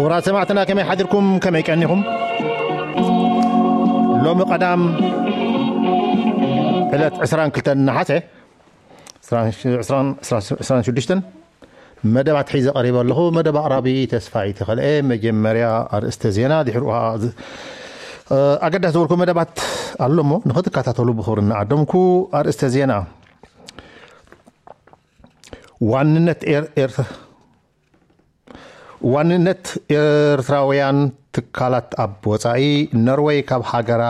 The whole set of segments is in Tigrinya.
ክቡራት ሰማዕትና፣ ከመይ ሓዲርኩም? ከመይ ቀኒኹም? ሎሚ ቀዳም ዕለት ዕስራን ክልተን ነሓሰ ዕስራን ሽዱሽተን መደባት ሒዘ ቀሪበ ኣለኹ። መደብ ኣቕራቢ ተስፋይ ተኸልኤ። መጀመርያ ኣርእስተ ዜና፣ ድሕሩ ኸዓ ዝ-፣ እ፣ ኣገዳሲ ዝበልኩ መደባት ኣሎ እሞ ንኽትከታተሉ ብኽብሪ እናዓደምኩ፣ ኣርእስተ ዜና። ዋንነት ኤር-፣ ኤርትራ ዋንነት ኤርትራውያን ትካላት ኣብ ወጻኢ፣ ኖርወይ ካብ ሃገራ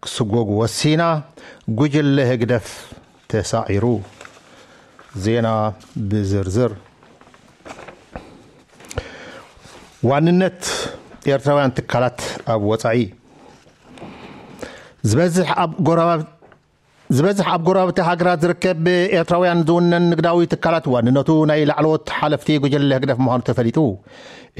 ክስጎግ ወሲና፣ ጉጅለ ህግደፍ ተሳዒሩ። ዜና ብዝርዝር። ዋንነት ኤርትራውያን ትካላት ኣብ ወጻኢ። ዝበዝሕ ኣብ ጎረባ-፣ ዝበዝሕ ኣብ ጎረባብቲ ሃገራት ዝርከብ ኤርትራውያን ዝውነን ንግዳዊ ትካላት ዋንነቱ ናይ ላዕለዎት ሓለፍቲ ጉጅለ ህግደፍ ምዃኑ ተፈሊጡ።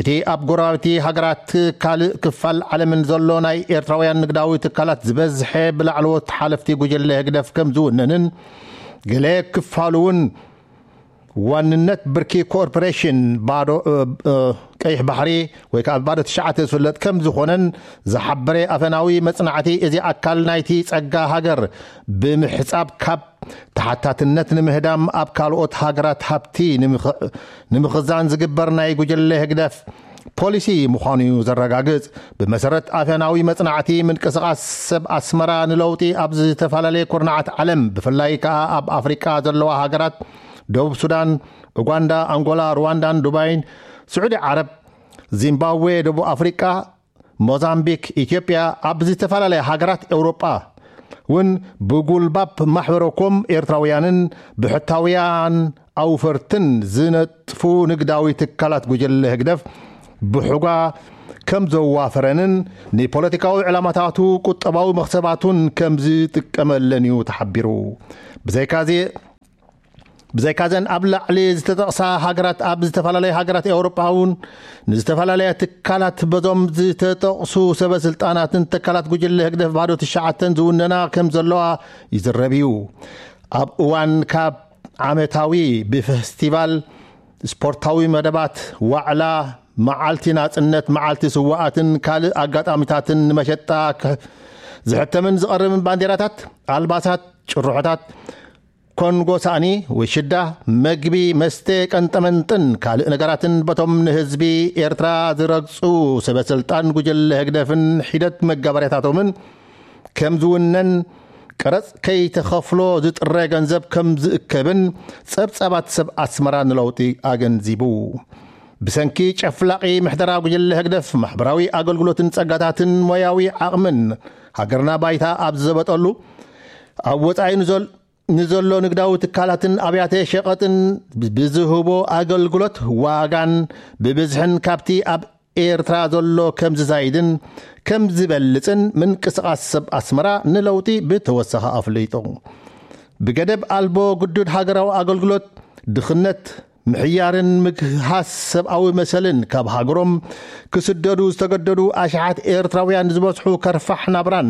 እቲ ኣብ ጎረባብቲ ሃገራት ካልእ ክፋል ዓለምን ዘሎ ናይ ኤርትራውያን ንግዳዊ ትካላት ዝበዝሐ ብላዕለዎት ሓለፍቲ ጉጅለ ህግደፍ ከም ዝውነንን ገለ ክፋሉ እውን ዋንነት ብርኪ ኮርፖሬሽን ባዶ፣ እ፣ እ፣ ቀይሕ ባሕሪ ወይ ከዓ ባዶ ትሽዓተ ዝፍለጥ ከም ዝኾነን ዝሓበረ ኣፈናዊ መጽናዕቲ፣ እዚ ኣካል ናይቲ ጸጋ ሃገር ብምሕጻብ ካብ ተሓታትነት ንምህዳም ኣብ ካልኦት ሃገራት ሃብቲ ንምኽ-፣ ንምኽዛን ዝግበር ናይ ጉጅለ ህግደፍ ፖሊሲ ምዃኑ እዩ ዘረጋግጽ። ብመሰረት ኣፈናዊ መጽናዕቲ፣ ምንቅስቓስ ሰብ ኣስመራ ንለውጢ ኣብ ዝተፈላለየ ኩርናዓት ዓለም፣ ብፍላይ ከኣ ኣብ ኣፍሪቃ ዘለዋ ሃገራት ደቡብ ሱዳን፣ ኡጋንዳ፣ ኣንጎላ፣ ሩዋንዳን ዱባይን፣ ስዑዲ ዓረብ፣ ዚምባብዌ፣ ደቡብ ኣፍሪቃ፣ ሞዛምቢክ፣ ኢትዮጵያ፣ ኣብ ዝተፈላለያ ሃገራት ኤውሮጳ እውን ብጉልባብ ማሕበረኮም ኤርትራውያንን ብሕታውያን ኣውፈርትን ዝነጥፉ ንግዳዊ ትካላት ጉጅለ ህግደፍ ብሑጋ ከም ዘዋፈረንን ንፖለቲካዊ ዕላማታቱ ቁጠባዊ መኽሰባቱን ከም ዝጥቀመለን እዩ ተሓቢሩ። ብዘይካዚ ብዘይካዘን ኣብ ላዕሊ ዝተጠቕሳ ሃገራት፣ ኣብ ዝተፈላለያ ሃገራት ኤውሮጳ እውን ንዝተፈላለያ ትካላት በዞም ዝተጠቕሱ ሰበ ስልጣናትን ትካላት ጉጅለ ህግደፍ ባዶ ትሽዓተን ዝውነና ከም ዘለዋ ይዝረብ እዩ። ኣብ እዋን ካብ ዓመታዊ ብፌስቲቫል፣ ስፖርታዊ መደባት፣ ዋዕላ፣ መዓልቲ ናጽነት፣ መዓልቲ ስዋኣትን ካልእ ኣጋጣሚታትን ንመሸጣ ክሕ-፣ ዝሕተምን ዝቐርብን ባንዴራታት፣ ኣልባሳት፣ ጭርሖታት፣ ኮንጎ ሳእኒ ወይ ሽዳ፣ መግቢ፣ መስተ፣ ቀንጠመንጥን ካልእ ነገራትን በቶም ንህዝቢ ኤርትራ ዝረግጹ ሰበ ስልጣን ጉጅለ ህግደፍን ሒደት መጋበርያታቶምን ከም ዝውነን፣ ቀረጽ ከይተኸፍሎ ዝጥረ ገንዘብ ከም ዝእከብን ጸብጻባት ሰብ ኣስመራ ንለውጢ ኣገንዚቡ። ብሰንኪ ጨፍላቒ ምሕደራ ጉጅለ ህግደፍ፣ ማሕበራዊ ኣገልግሎትን ጸጋታትን ሞያዊ ዓቕምን ሃገርና ባይታ ኣብ ዝዘበጠሉ፣ ኣብ ወጻኢ ንዘል-፣ ንዘሎ ንግዳዊ ትካላትን ኣብያተ ሸቐጥን ብዝህቦ ኣገልግሎት ዋጋን ብብዝሕን ካብቲ ኣብ ኤርትራ ዘሎ ከም ዝዛይድን ከም ዝበልጽን ምንቅስቓስ ሰብ ኣስመራ ንለውጢ ብተወሳኺ ኣፍሊጡ። ብገደብ ኣልቦ ግዱድ ሃገራዊ ኣገልግሎት፣ ድኽነት፣ ምሕያርን ምግሃስ ሰብኣዊ መሰልን ካብ ሃገሮም ክስደዱ ዝተገደዱ ኣሽሓት ኤርትራውያን ዝበዝሑ ከርፋሕ ናብራን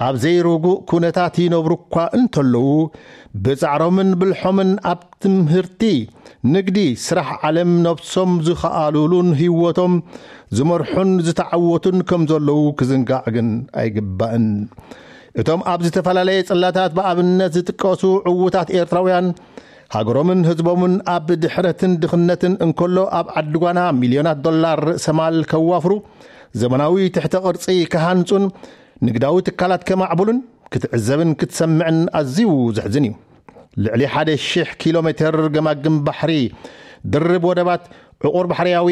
ኣብ ዘይርጉእ ኩነታት ይነብሩ እኳ እንተለዉ፣ ብጻዕሮምን ብልሖምን ኣብ ትምህርቲ፣ ንግዲ፣ ስራሕ ዓለም ነብሶም ዝኸኣሉሉን ህይወቶም ዝመርሑን ዝተዓወቱን ከም ዘለዉ ክዝንጋዕ ግን ኣይግባእን። እቶም ኣብ ዝተፈላለየ ጽላታት ብኣብነት ዝጥቀሱ ዕዉታት ኤርትራውያን፣ ሃገሮምን ህዝቦምን ኣብ ድሕረትን ድኽነትን እንከሎ፣ ኣብ ዓዲ ጓና ሚልዮናት ዶላር ርእሰ ማል ከዋፍሩ፣ ዘመናዊ ትሕተ ቅርጺ ክሃንጹን ንግዳዊ ትካላት ከማዕብሉን ክትዕዘብን ክትሰምዕን ኣዝዩ ዘሕዝን እዩ። ልዕሊ ሓደ ሺሕ ኪሎ ሜተር ገማግም ባሕሪ፣ ድርብ ወደባት፣ ዕቑር ባሕርያዊ፣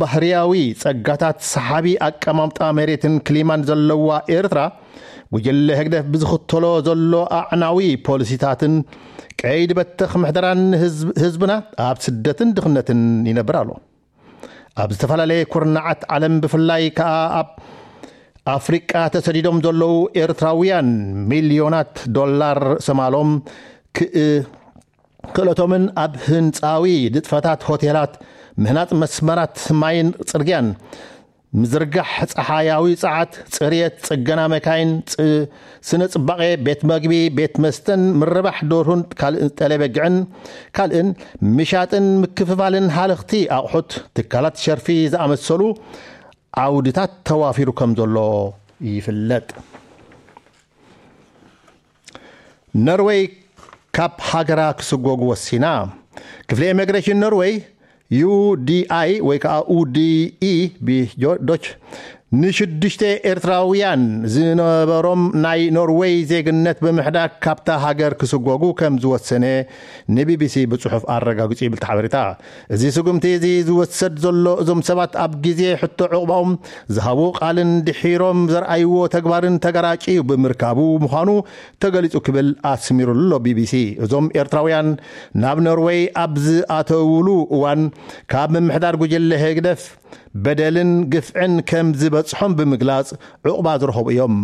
ባህርያዊ ጸጋታት፣ ሰሓቢ ኣቀማምጣ መሬትን ክሊማን ዘለዋ ኤርትራ፣ ጉጅለ ህግደፍ ብዝኽተሎ ዘሎ ኣዕናዊ ፖሊሲታትን ቀይዲ በተኽ ምሕደራን ህዝብ-፣ ህዝብና ኣብ ስደትን ድኽነትን ይነብር ኣሎ። ኣብ ዝተፈላለየ ኩርናዓት ዓለም፣ ብፍላይ ከኣ ኣብ ኣፍሪቃ ተሰዲዶም ዘለዉ ኤርትራውያን፣ ሚልዮናት ዶላር ሰማሎም ክእ-፣ ክእለቶምን ኣብ ህንጻዊ ንጥፈታት ሆቴላት፣ ምህናጽ መስመራት ማይን ጽርግያን፣ ምዝርጋሕ ጸሓያዊ ጸዓት፣ ጽርየት፣ ጽገና መካይን፣ ጽ- ስነ ጽባቐ፣ ቤት መግቢ፣ ቤት መስተን ምርባሕ ደርሁን ካልእ ጠለበግዕን ካልእን፣ ምሻጥን ምክፍፋልን ሃለኽቲ ኣቑሑት፣ ትካላት ሸርፊ ዝኣመሰሉ ዓውድታት ተዋፊሩ ከም ዘሎ ይፍለጥ። ነርወይ ካብ ሃገራ ክስጎጉ ወሲና። ክፍሊ ኢሚግሬሽን ነርወይ፣ ዩ ዲ ኣይ ወይ ከዓ ኡ ዲ ኢ ብዶች፣ ንሽዱሽተ ኤርትራውያን ዝነበሮም ናይ ኖርወይ ዜግነት ብምሕዳግ ካብታ ሃገር ክስጎጉ ከም ዝወሰነ ንቢቢሲ ብጽሑፍ ኣረጋግጹ ይብል እቲ ሓበሬታ። እዚ ስጉምቲ እዚ ዝወሰድ ዘሎ እዞም ሰባት ኣብ ግዜ ሕቶ ዕቑባኦም ዝሃቡ ቃልን ድሒሮም ዘርኣይዎ ተግባርን ተገራጭ እዩ ብምርካቡ ምዃኑ ተገሊጹ ክብል ኣስሚሩሉ ኣሎ ቢቢሲ። እዞም ኤርትራውያን ናብ ኖርወይ ኣብ ዝኣተውሉ እዋን ካብ ምምሕዳር ጉጅለ ህግደፍ በደልን ግፍዕን ከም ዝበጽሖም ብምግላጽ ዕቑባ ዝረኸቡ እዮም።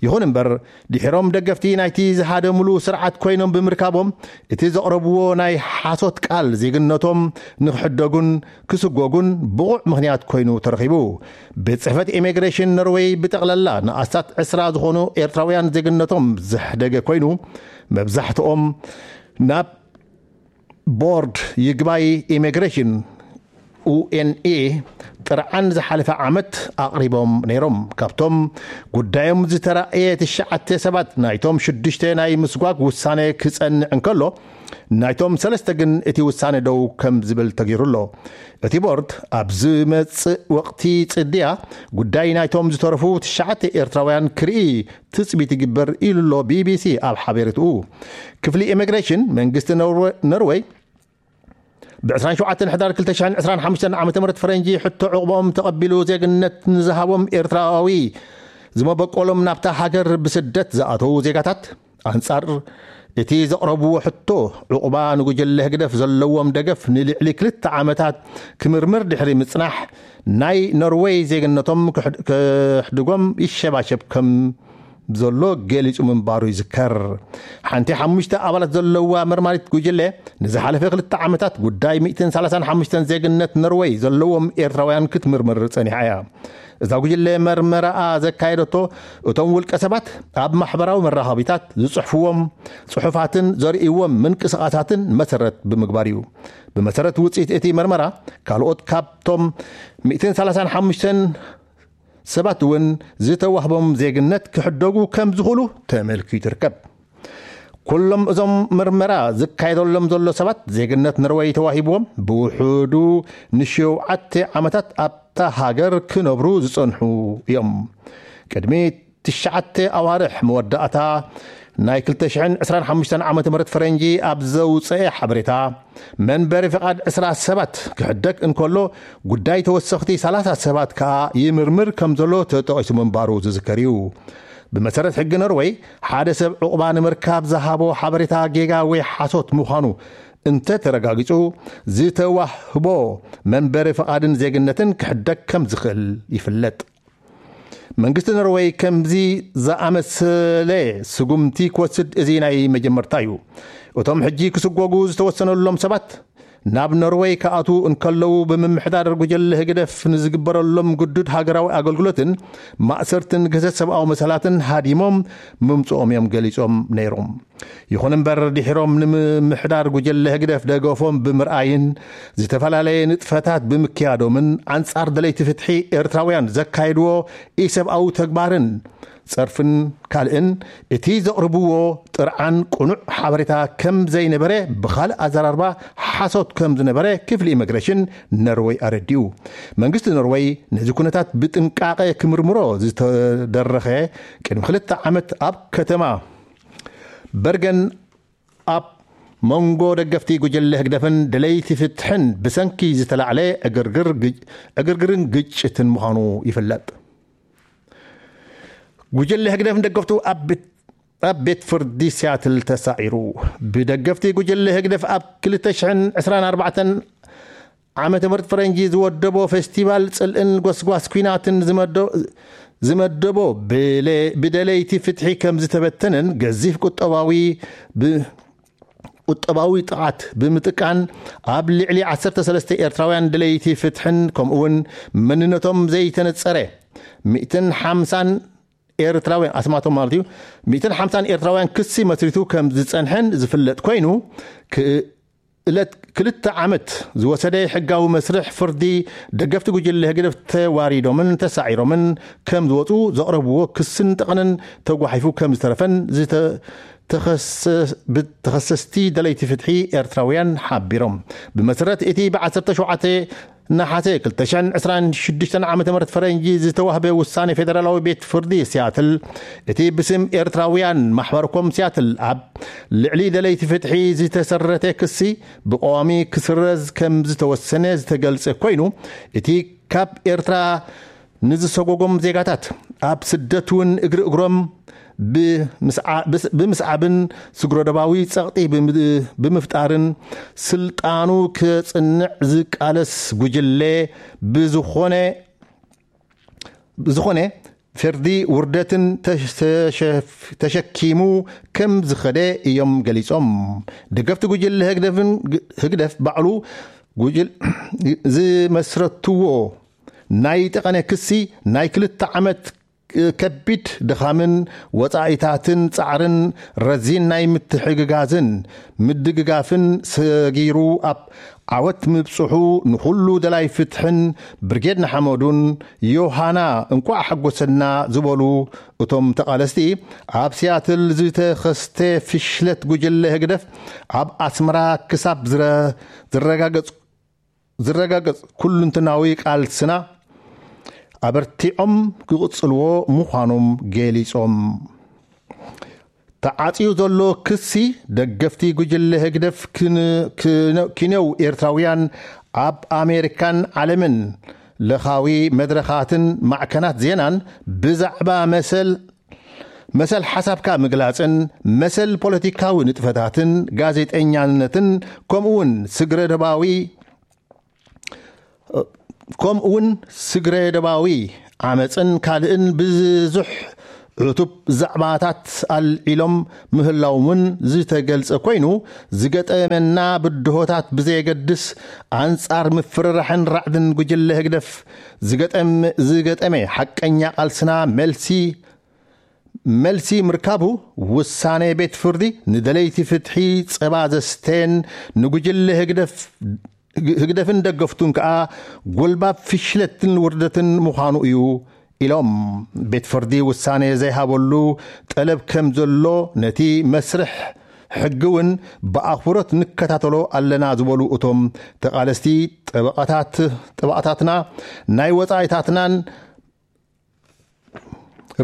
ይኹን እምበር ድሒሮም ደገፍቲ ናይቲ ዝሃደምሉ ስርዓት ኮይኖም ብምርካቦም እቲ ዘቕረብዎ ናይ ሓሶት ቃል ዜግነቶም ንክሕደጉን ክስጎጉን ብቑዕ ምኽንያት ኮይኑ ተረኺቡ። ቤት ጽሕፈት ኢሚግሬሽን ኖርወይ ብጠቕላላ ንኣስታት ዕስራ ዝኾኑ ኤርትራውያን ዜግነቶም ዘሕደገ ኮይኑ፣ መብዛሕትኦም ናብ ቦርድ ይግባይ ኢሚግሬሽን ኡ ኤን ኤ ጥርዓን ዝሓለፈ ዓመት ኣቕሪቦም ነይሮም። ካብቶም ጉዳዮም ዝተራእየ ትሽዓተ ሰባት ናይቶም ሽዱሽተ ናይ ምስጓግ ውሳነ ክጸንዕ እንከሎ፣ ናይቶም ሰለስተ ግን እቲ ውሳነ ደው ከም ዝብል ተገይሩ ኣሎ። እቲ ቦርድ ኣብ ዝመጽእ ወቕቲ ጽድያ ጉዳይ ናይቶም ዝተረፉ ትሽዓተ ኤርትራውያን ክርኢ ትጽቢት ይግበር ኢሉ ኣሎ ቢቢሲ ኣብ ሓበሬትኡ። ክፍሊ ኢሚግሬሽን መንግስቲ ኖርወ- ኖርወይ ብ ዕስራን ሸውዓተን ሕዳር ክልተ ሽሕን ዕስራን ሓሙሽተን ዓመተ ምህረት ፈረንጂ ሕቶ ዕቑቦም ተቐቢሉ ዜግነት ንዝሃቦም ኤርትራዊ ዝመበቆሎም ናብታ ሃገር ብስደት ዝኣተዉ ዜጋታት ኣንጻር እቲ ዘቕረብዎ ሕቶ ዕቑባ ንጉጅለ ህግደፍ ዘለዎም ደገፍ ንልዕሊ ክልተ ዓመታት ክምርምር ድሕሪ ምጽናሕ ናይ ኖርወይ ዜግነቶም ክሕድ- ክሕድጎም ይሸባሸብ ከም ዘሎ ገሊጹ ምንባሩ ይዝከር። ሓንቲ ሓሙሽተ ኣባላት ዘለዋ መርማሪት ጉጅለ ንዝሓለፈ ክልተ ዓመታት ጉዳይ ሚእትን ሰላሳን ሓሙሽተን ዜግነት ኖርወይ ዘለዎም ኤርትራውያን ክትምርምር ጸኒሓ እያ። እዛ ጉጅለ መርመራኣ ዘካየደቶ እቶም ውልቀ ሰባት ኣብ ማሕበራዊ መራኸቢታት ዝጽሕፍዎም ጽሑፋትን ዘርእይዎም ምንቅስቓሳትን መሰረት ብምግባር እዩ። ብመሰረት ውጽኢት እቲ መርመራ ካልኦት ካብቶም ሚእትን ሰላሳን ሓሙሽተን ሰባት እውን ዝተዋህቦም ዜግነት ክሕደጉ ከም ዝኽእሉ ተመልኪቱ ይርከብ። ኩሎም እዞም መርመራ ዝካየደሎም ዘሎ ሰባት ዜግነት ኖርወይ ተዋሂብዎም ብውሑዱ ንሸውዓተ ዓመታት ኣብታ ሃገር ክነብሩ ዝጸንሑ እዮም። ቅድሚ ትሽዓተ ኣዋርሕ መወዳእታ ናይ ክልተ ሽሕን ዕስራን ሓሙሽተን ዓመተ ምህረት ፈረንጂ ኣብ ዘውፅአ ሓበሬታ፣ መንበሪ ፍቓድ ዕስራ ሰባት ክሕደግ እንከሎ፣ ጉዳይ ተወሰኽቲ ሰላሳ ሰባት ከኣ ይምርምር ከም ዘሎ ተጠቒሱ ምንባሩ ዝዝከር እዩ። ብመሰረት ሕጊ ኖርወይ፣ ሓደ ሰብ ዕቑባ ንምርካብ ዝሃቦ ሓበሬታ ጌጋ ወይ ሓሶት ምዃኑ እንተ ተረጋጊጹ፣ ዝተዋህቦ መንበሪ ፍቓድን ዜግነትን ክሕደግ ከም ዝኽእል ይፍለጥ። መንግስቲ ኖርወይ ከምዚ ዝኣመሰለ ስጉምቲ ክወስድ እዚ ናይ መጀመርታ እዩ። እቶም ሕጂ ክስጎጉ ዝተወሰነሎም ሰባት ናብ ኖርወይ ክኣትዉ እንከለዉ ብምምሕዳር ጉጀለ ህግደፍ ንዝግበረሎም ግዱድ ሃገራዊ ኣገልግሎትን ማእሰርትን ግህሰት ሰብኣዊ መሰላትን ሃዲሞም ምምጽኦም እዮም ገሊጾም ነይሮም። ይኹን እምበር ድሒሮም ንምምሕዳር ጉጀለ ህግደፍ ደገፎም ብምርኣይን ዝተፈላለየ ንጥፈታት ብምክያዶምን ኣንጻር ደለይቲ ፍትሒ ኤርትራውያን ዘካየድዎ ኢሰብኣዊ ተግባርን ጸርፍን ካልእን እቲ ዘቕርብዎ ጥርዓን ቅኑዕ ሓበሬታ ከም ዘይነበረ ብኻልእ ኣዘራርባ ሓሶት ከም ዝነበረ ክፍሊ ኢሚግሬሽን ኖርወይ ኣረዲኡ። መንግስቲ ኖርወይ ነዚ ኩነታት ብጥንቃቐ ክምርምሮ ዝተደረኸ ቅድሚ ክልተ ዓመት ኣብ ከተማ በርገን ኣብ መንጎ ደገፍቲ ጉጅለ ህግደፍን ደለይቲ ፍትሕን ብሰንኪ ዝተላዕለ ዕግርግር ግጭ- ዕግርግርን ግጭትን ምዃኑ ይፍለጥ። ጉጅለ ህግደፍን ደገፍቱ ኣብ ቤት- ኣብ ቤት ፍርዲ ሲያትል ተሳዒሩ። ብደገፍቲ ጉጅለ ህግደፍ ኣብ ክልተ ሽሕን ዕስራን ኣርባዕተን ዓመተ ምህረት ፈረንጂ ዝወደቦ ፌስቲቫል ጽልእን ጎስጓስ ኲናትን ዝመዶ- ዝመደቦ ብለ- ብደለይቲ ፍትሒ ከም ዝተበተነን ገዚፍ ቁጠባዊ ብ- ቁጠባዊ ጥቓት ብምጥቃን ኣብ ልዕሊ ዓሰርተ ሰለስተ ኤርትራውያን ደለይቲ ፍትሕን ከምኡውን መንነቶም ዘይተነጸረ ሚእትን ሓምሳን ኤርትራውያን ኣስማቶም ማለት እዩ፣ ሚእትን ሓምሳን ኤርትራውያን ክሲ መስሪቱ ከም ዝጸንሐን ዝፍለጥ ኮይኑ፣ ክእለት ክልተ ዓመት ዝወሰደ ሕጋዊ መስርሕ ፍርዲ ደገፍቲ ጉጅለ ህግደፍ ተዋሪዶምን ተሳዒሮምን ከም ዝወጹ ዘቕረብዎ ክስን ጠቕንን ተጓሒፉ ከም ዝተረፈን ዝተ- ተኸሰ- ብ- ተኸሰስቲ ደለይቲ ፍትሒ ኤርትራውያን ሓቢሮም። ብመሰረት እቲ ብ ዓሰርተ ሸውዓተ ነሓሰ ክልተ ሽሕን ዕስራን ሽዱሽተን ዓመተ ምህረት ፈረንጂ ዝተዋህበ ውሳኔ ፌደራላዊ ቤት ፍርዲ ሲያትል፣ እቲ ብስም ኤርትራውያን ማሕበርኮም ሲያትል ኣብ ልዕሊ ደለይቲ ፍትሒ ዝተሰረተ ክሲ ብቀዋሚ ክስረዝ ከም ዝተወሰነ ዝተገልጸ ኮይኑ፣ እቲ ካብ ኤርትራ ንዝሰጎጎም ዜጋታት ኣብ ስደት እውን እግሪ እግሮም ብምስዓ- ብስ- ብምስዓብን ስግረዶባዊ ጸቕጢ ብምድ- ብምፍጣርን ስልጣኑ ከጽንዕ ዝቃለስ ጉጅለ ብዝኾነ ብዝኾነ ፍርዲ ውርደትን ተሸፍ- ተሸኪሙ ከም ዝኸደ እዮም ገሊጾም። ደገፍቲ ጉጅለ ህግደፍን ህግደፍ ባዕሉ ጉጅል ዝመስረትዎ ናይ ጠቐነ ክሲ ናይ ክልተ ዓመት ከቢድ ድኻምን ወጻኢታትን ጻዕርን ረዚን ናይ ምትሕግጋዝን ምድግጋፍን ሰጊሩ ኣብ ዓወት ምብጽሑ ንኹሉ ደላይ ፍትሕን ብርጌድ ንሓመዱን ዮሃና እንቋዕ ሓጎሰና ዝበሉ እቶም ተቓለስቲ፣ ኣብ ሲያትል ዝተኸስተ ፍሽለት ጉጅለ ህግደፍ ኣብ ኣስመራ ክሳብ ዝረ- ዝረጋገጽ ዝረጋገጽ ኩሉንትናዊ ቃልስና ኣበርቲዖም ክቕጽልዎ ምዃኖም ገሊጾም። ተዓጽዩ ዘሎ ክሲ ደገፍቲ ጉጅለ ህግደፍ ክን- ክን- ኪንዮው ኤርትራውያን ኣብ ኣሜሪካን ዓለምን ለኻዊ መድረኻትን ማዕከናት ዜናን ብዛዕባ መሰል መሰል ሓሳብካ ምግላጽን መሰል ፖለቲካዊ ንጥፈታትን ጋዜጠኛነትን ከምኡውን ስግረ ደባዊ ከምኡውን ስግረ ደባዊ ዓመፅን ካልእን ብዙሕ ዕቱብ ዛዕባታት ኣልዒሎም ምህላዎም እውን ዝተገልጸ ኮይኑ፣ ዝገጠመና ብድሆታት ብዘየገድስ ኣንጻር ምፍርራሕን ራዕድን ጉጅለ ህግደፍ ዝገጠም- ዝገጠመ ሓቀኛ ቃልስና መልሲ መልሲ ምርካቡ፣ ውሳኔ ቤት ፍርዲ ንደለይቲ ፍትሒ ጸባ ዘስተን ንጉጅለ ህግደፍ ህግደፍን ደገፍቱን ከኣ ጎልባብ ፍሽለትን ውርደትን ምዃኑ እዩ ኢሎም። ቤት ፍርዲ ውሳኔ ዘይሃበሉ ጠለብ ከም ዘሎ ነቲ መስርሕ ሕጊ እውን ብኣኽብሮት ንከታተሎ ኣለና ዝበሉ እቶም ተቓለስቲ ጠበቓታት ጠበቓታትና ናይ ወጻኢታትናን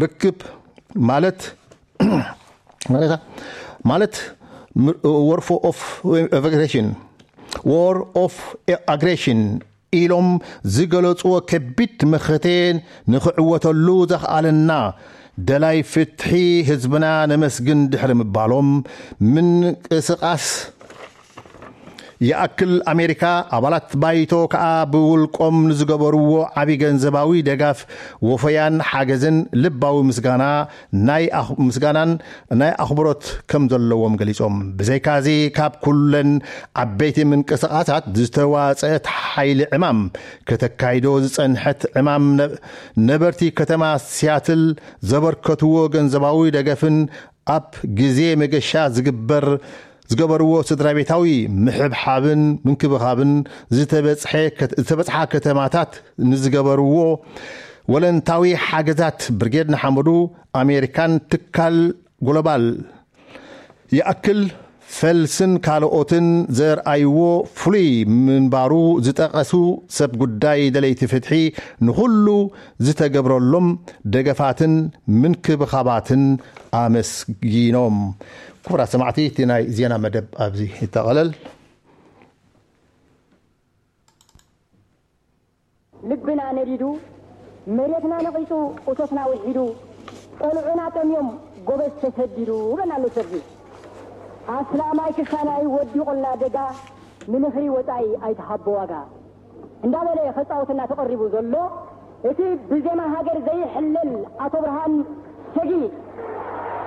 ርክብ ማለት ማለት ማለት war of aggression war of aggression ኢሎም ዝገለጽዎ ከቢድ መኸተ ንኽዕወተሉ ዘኽኣለና ደላይ ፍትሒ ህዝብና ነመስግን ድሕሪ ምባሎም ምንቅስቓስ ይኣክል ኣሜሪካ ኣባላት ባይቶ ከኣ ብውልቆም ንዝገበርዎ ዓቢ ገንዘባዊ ደጋፍ ወፈያን ሓገዝን ልባዊ ምስጋና ናይ ኣኽ- ምስጋናን ናይ ኣኽብሮት ከም ዘለዎም ገሊጾም። ብዘይካዚ ካብ ኩለን ዓበይቲ ምንቅስቓሳት ዝተዋጸአት ሓይሊ ዕማም ከተካይዶ ዝጸንሐት ዕማም ነ- ነበርቲ ከተማ ሲያትል ዘበርከትዎ ገንዘባዊ ደገፍን ኣብ ግዜ መገሻ ዝግበር ዝገበርዎ ስድራ ቤታዊ ምሕብሓብን ምንክብኻብን ዝተበጽሐ- ዝተበጽሓ ከተማታት ንዝገበርዎ ወለንታዊ ሓገዛት ብርጌድ ንሓመዱ ኣሜሪካን ትካል ግሎባል ይኣክል ፈልስን ካልኦትን ዘርኣይዎ ፍሉይ ምንባሩ ዝጠቐሱ ሰብ ጉዳይ ደለይቲ ፍትሒ ንኹሉ ዝተገብረሎም ደገፋትን ምንክብኻባትን ኣመስጊኖም። ክቡራት ሰማዕቲ፣ እቲ ናይ ዜና መደብ ኣብዚ ይጠቐለል። ልብና ነዲዱ፣ መሬትና ነቒጹ፣ እቶትና ውሒዱ፣ ቆልዑና ጠምዮም፣ ጎበዝ ተሰዲዱ በና ኣሎ ሰርጊ። ኣስላማይ ክሳናይ ወዲቑልና ደጋ፣ ንምኽሪ ወጻኢ ኣይትሃቦ ዋጋ። እንዳበለ ከጻውትና ተቐሪቡ ዘሎ፣ እቲ ብዜማ ሃገር ዘይሕለል ኣቶ ብርሃን ሰጊ፣